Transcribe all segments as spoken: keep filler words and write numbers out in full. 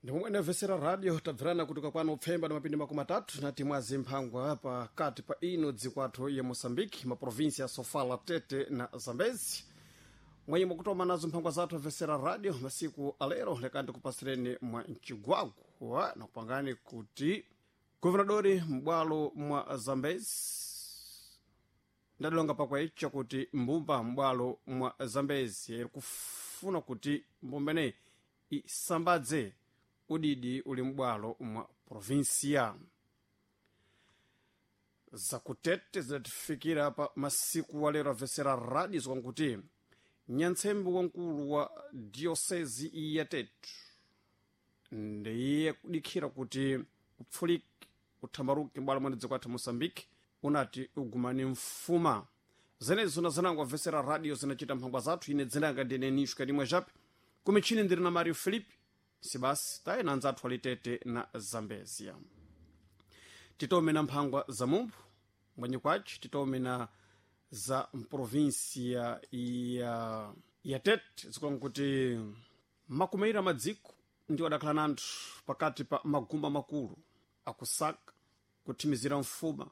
Ndimomwe inamvesera radio tabverana kutoka kwano upfemba na mapindi makumi atatu nati mwazi mphangwa pakati pa ino dzikwathu ya Moçambique, maprovinsi ya Sofala, Tete na Zambezi. Mwenye mwakutoma nazo mphangwa zathu amvesera radio masiku alero, lekani tikupasireni mwa mcigwagwa na kupangani kuti guvernadori m'bwalo mwa Zambezi ndadilonga pakwecha kuti mbumba m'bwalo mwa Zambezi iri kufuna kuti mbumba ineyi isambadze udidi uli m'bwalo mwa provinsia. Zakutete zidatifikira pa masiku alero amvesera radio zikwankuti nyantsembe wamkulu wa diocese ya Tete ndiye kudikhira kuti upfulike uthambaruke m'bwalo mwene dziko athu Moçambique unati ugumane mfuma. Zenezo na zanango amvesera radio zinachita mphangwa zathu. Ine dzinanga ndine Nisho Kadimwe Jape, kumichini ndiri na Mario Felipe Sibasi taye na anzathu alitete na Zambezia. Titome na mphangwa za mumphu mwenye kwaci titome na za mprovinsia ya ya Tete zikulanga kuti makumeira madziko ndiwo adakhala na anthu pakati pa maguma makulu akusaka kuthimizira mfuma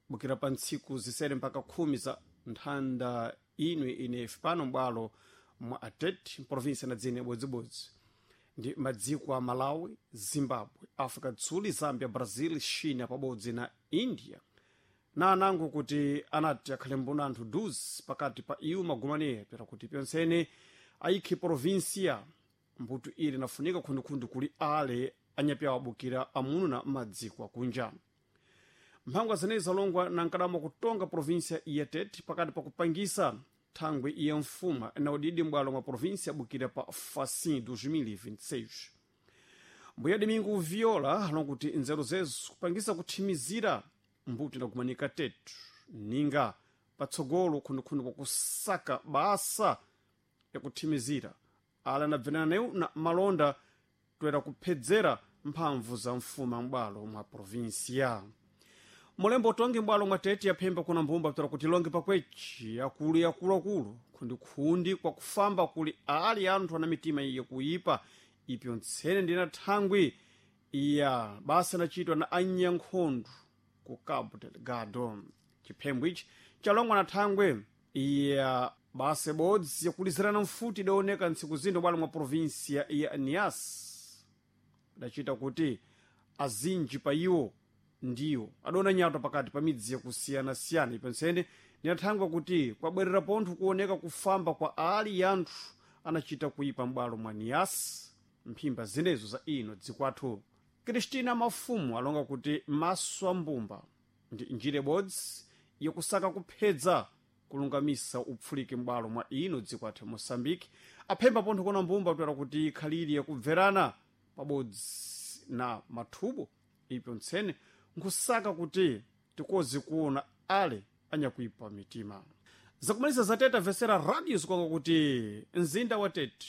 bukira pa ntsiku zisere mpaka khumi za nthanda inwe inefi pano m'bwalo mwa Atete mprovinsia na dzine bodzibodzi ndi madziko a Malawi, Zimbabwe, Africa Dzuli, Zambia, Brazil, China pabodzi na India na anango kuti anati akhale mbuna anthu duzi pakati pa iwo magumaniye pera kuti pyonsene ayikhe provinsia mbuto ili nafunika khundikhundu kuli ale anyapyawo abukira amunu na madziko akunja. Mphangwa zenezi zalongwa na nkadamo kutonga provinsia ya Tete pakati pa kupangisa thangwi ya mfuma na udidi m'bwalo mwa provinsia abukira pa facin dois mil e vinte e seis. Mbuya Domingo Viola alonga kuti nzeru zezo kupangisa kuthimizira mbuto inagumanika Tetu ninga patsogolo khundikhundu kwakusaka basa yakuthimizira ala anabvenana nayo na malonda toera kuphedzera mphamvu za mfuma m'bwalo mwa provinsia. Mulembo utongi m'bwalo mwa Tete yaphemba kuna mbumba pera kuti longe pakwechi akulu yakuluakulu khundikhundi kwakufamba kuli ali anthu ana mitima iyo kuipa ipyo ntsene ndina thangwi iya basa inachitwa na anyankhondo ku Cabo Delgado. Chiphembo ichi chalongwa na thangwe iya basa ibodzi yakulizirana mfuti idaoneka ntsiku zino bwalo mwa provinsia ya Nias idachita kuti azinji pa iwo ndiwo adona nyatwa pakati pa midzi yakusiyanasiyana. Ipensene ndinathangwa kuti kwabwerera pontho kuoneka kufamba kwa ali anthu anachita kuipa m'bwalo mwa Nias mphimba zinezo za ino dzikwathu. Kristina Mafumu alonga kuti maso a mbumba ndi njira ibodzi yakusaka kuphedza kulungamisa upfulike m'bwalo mwa ino dzikwathu Moçambique. Aphemba pontho kona mbumba kutera kuti ikhaliri yakubverana pabodzi na mathubo ipyo ntsene nkusaka kuti tikozi kuona ale anyakuipa mitima. Zakumalisa za Tete amvesera radio zikwanga kuti mzinda wa Tete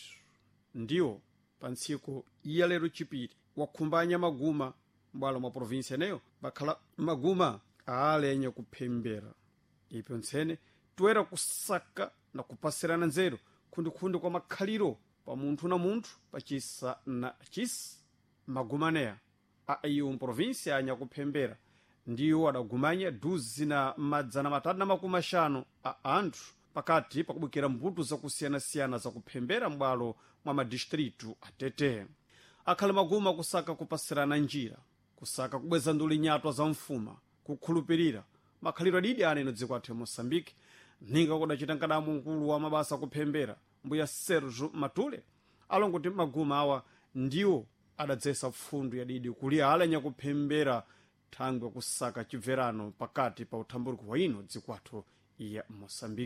ndiwo pa ntsiku ya lero chipiri wakhumbanya maguma m'bwalo mwa provinsia eneyo bakhala maguma aale anyakuphembera ipyo ntsene toera kusaka na kupasirana nzeru khundikhundi kwa makhaliro pa munthu na munthu pachisa na chisa. Magumaneya a iwo mprovinsia anyakuphembera ndiwo adagumanya duzi na madzana matatu na makumi axanu a anthu pakati pakubukira mbuto zakusiyanasiyana zakuphembera m'bwalo mwa madistritu atete. Akhale maguma kusaka kupasirana njira, kusaka kubweza nduli nyatwa za mfuma, kukhulupirira makhalidwe adidi aneno dziko athu ya Moçambique ninga kudachita nkadamu mkulu wa mabasa akuphembera mbuya Sergio Matule alonga kuti maguma awa ndiwo adadzesa pfundu yadidi kuli ale anyakuphembera thangwi kusaka chibverano pakati pa uthambuliko wa ino dzikwathu ya Moçambique.